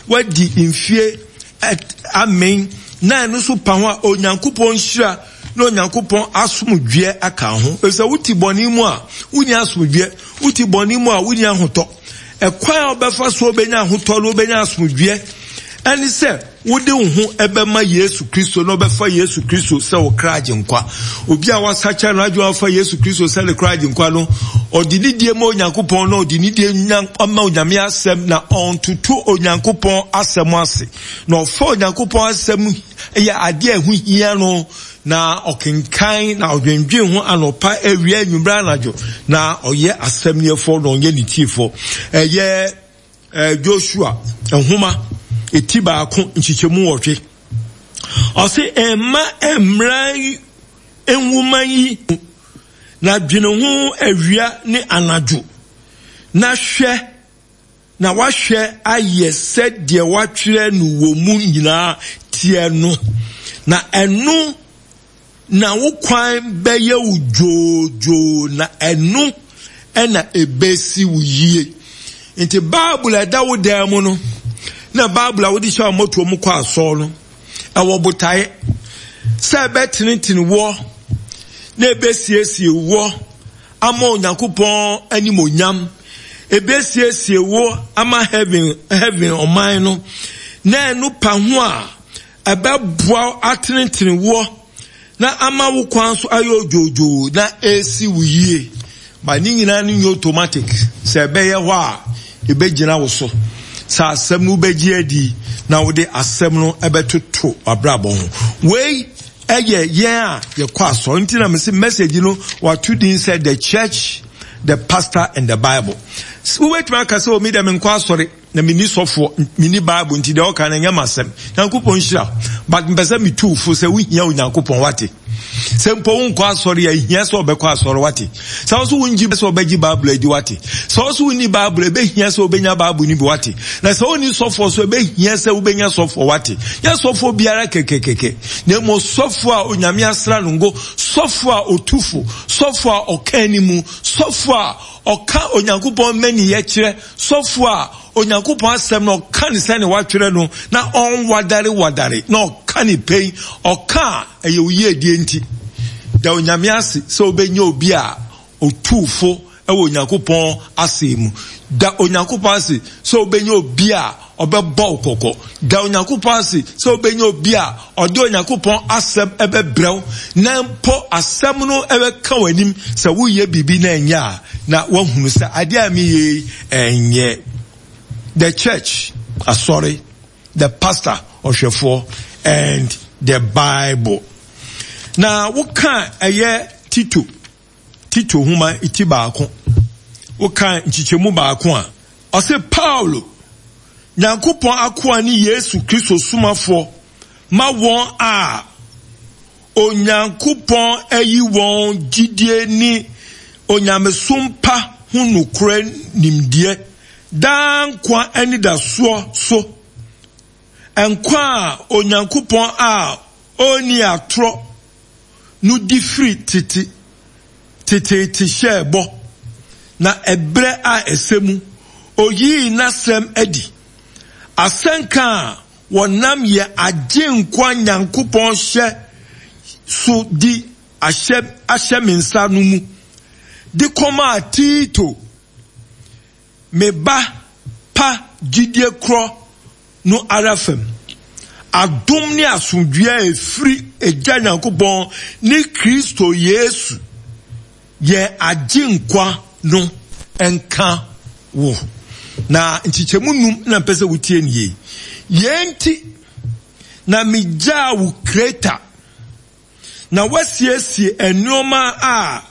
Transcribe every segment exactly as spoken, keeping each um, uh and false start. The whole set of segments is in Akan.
Woadi mfie amen na ɛno nso pa ho a, Onyankopɔn nhyira na Onyankopɔn asomdwoeɛ aka ho. Efisɛ wote bɔne mu a, wonni asomdwoeɛ. Wote bɔne mu a, wonni ahotɔ. Ɛkwan a wobɛfa so wobɛnya ahotɔ na wobɛnya asomdwoeɛ ɛne sɛ wode wo ho ɛbɛma Yesu Kristo na wobɛfa Yesu Kristo sɛ wo kra agyenkwa. Obi a wasakyera n'adwene afa Yesu Kristo sɛ ne kra agyenkwa no, ɔde ne die ma Onyankopɔn na ɔde ne die ma Onyame asɛm na ɔntoto Onyankopɔn asɛm ase. Na ɔfa Onyankopɔn asɛm yɛ adeɛ a ɛho hia no na ɔkenkan na ɔdwendwen ho anɔpa, awia, anwummerɛ, anadwo na ɔyɛ asɛm yɛfoɔ na ɔnyɛ ne tiefoɔ. Ɛyɛ Joshua nhoma eti baako nkyekyɛmu wɔtwe. Ɔse mma mmara nwoma yi na dwene ho awia ne anadwo na hwɛ na wahwɛ ayɛ sɛdeɛ watwerɛ no wɔ mu nyinaa teɛ no, na ɛno na wo kwan bɛyɛ wo dwoodwoo na ɛno ɛna ebesi wo yie. Nti Bible a ɛda wo dan mu no na Bible a wode hyɛ mmɔtoɔ mu kɔ asɔre no ɛwɔ botaeɛ sɛ ɛbɛtenetene woɔ na ebesiesie woɔ ama Onyankopɔn animonyam, ebesiesie wo ama heaven heaven ɔman no, na ɛno pa ho a ɛbɛboa atenetene woɔ na ama wo kwan so ayɛ odwoodwoo na esi wo yie. Ba ne nyinaa no nyɛ automatic sɛ ɛbɛyɛ hɔ a ebɛgyina wo so sɛ asɛm no wobɛgye adi na wode asɛm no ɛbɛtoto w'abrabɔ ho. Wei ɛyɛ yɛn a yɛkɔ asɔre nti na mese message no wato din sɛ The Church, the Pastor and the Bible. Wobɛtumi aka sɛ omi dɛ menkɔ asɔre na menni sɔfoɔ, menni Bible, nti deɛ ɔka no ɛnyɛ m'asɛm. Nyankopɔn nhyira, but mpɛ sɛ metu fo sɛ wohia Onyankopɔn, wate? Sɛ mpo wonkɔ asɔre a, ehia sɛ ɔbɛkɔ asɔre, wate? Sɛ wo so wongye sɛ ɔbɛgye Bible adi, wate? Sɛ wo so wonni Bible, ɛbɛhia sɛ wobɛnya Bible no bi, wate? Na sɛ wonni sɔfoɔ so, ɛbɛhia sɛ wobɛnya sɔfoɔ, wate? Nyɛ sɔfoɔ biara kɛkɛkɛkɛ, na mmom sɔfoɔ a Onyame asra no ngo, sɔfoɔ a ɔtufo, sɔfoɔ a ɔka animu, sɔfoɔ a ɔka Onyankopɔn mmaniyɛ kyerɛ, sɔfoɔ a Onyankopɔn asɛm no ɔka ne sɛne watwerɛ no na ɔnwadare wadare na ɔka ne pɛn, ɔka a ɛyɛ wo yiedie nti. Da Onyame ase sɛ wobɛnya obi a ɔtuufo ɛwɔ Onyankopɔn asɛm mu. Da Onyankopɔn ase sɛ wobɛnya obi a ɔbɛbɔ wo kɔkɔ. Da Onyankopɔn ase sɛ wobɛnya obi a ɔde Onyankopɔn asɛm ɛbɛbrɛw na mpo asɛm no ɛbɛka w'anim sɛ woyɛ biribi na ɛnyɛ a, na woahunu sɛ adeɛ a meyɛ yi ɛnyɛ. The church, asɔre, the pastor, ɔhwɛfoɔ, and the Bible. Na woka ɛyɛ Tito, Tito homa eti baako, woka nkyekyɛmu baako a, ɔse Paulo, Nyankopɔn akoa ne Yesu Kristo somafoɔ ma wɔn a Onyankopɔn ayi wɔn gyidie ne onyamesom pa ho nokorɛ nimdeɛ daa nkwa anidasoɔ so, nkwa a Onyankopɔn a ɔnni atorɔ no di firi tete teteete hyɛɛ bɔ, na ɛberɛ a ɛsɛ mu oyii n'asɛm adi. Asɛnka a wɔnam yɛ agye nkwa Nyankopɔn hyɛ so di ahyɛ ahyɛ me nsa no mu de kɔmaa Tito, me ba pa gyidie korɔ no ara fam. Adom ne asomdwoeɛ a ɛfiri Agya Nyankopɔn ne Kristo Yesu yɛn agye nkwa no nka wo. Na nkyekyɛmu num na mpɛ sɛ wotie ne yie. Yɛn nti na megyaa wo Kreta na wasiesie nneɛma a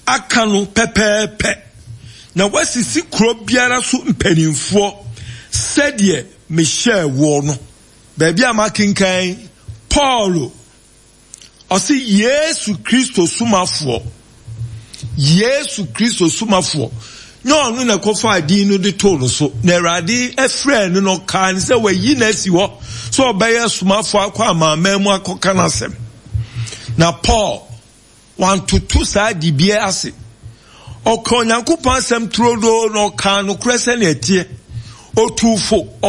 aka no pɛpɛɛpɛ na wasisi kuro biara so mpanimfoɔ sɛdeɛ mehyɛɛ woɔ no. Baabi a makenkan Paulo ɔse Yesu Kristo somafoɔ, Yesu Kristo somafoɔ, nyɛ ɔno na ɛkɔfaa din no de too no so, na Awurade ɛfrɛɛ no na ɔkaa no sɛ wayi no asi hɔ sɛ ɔbɛyɛ somafoɔ akɔ amanaman mu akɔka n'asɛm. Na Paul wantoto saa dibea ase. Ɔka Onyankopɔn asɛm turodoo na ɔkaa nokorɛ sɛnea ɛteɛ. Otuu fo.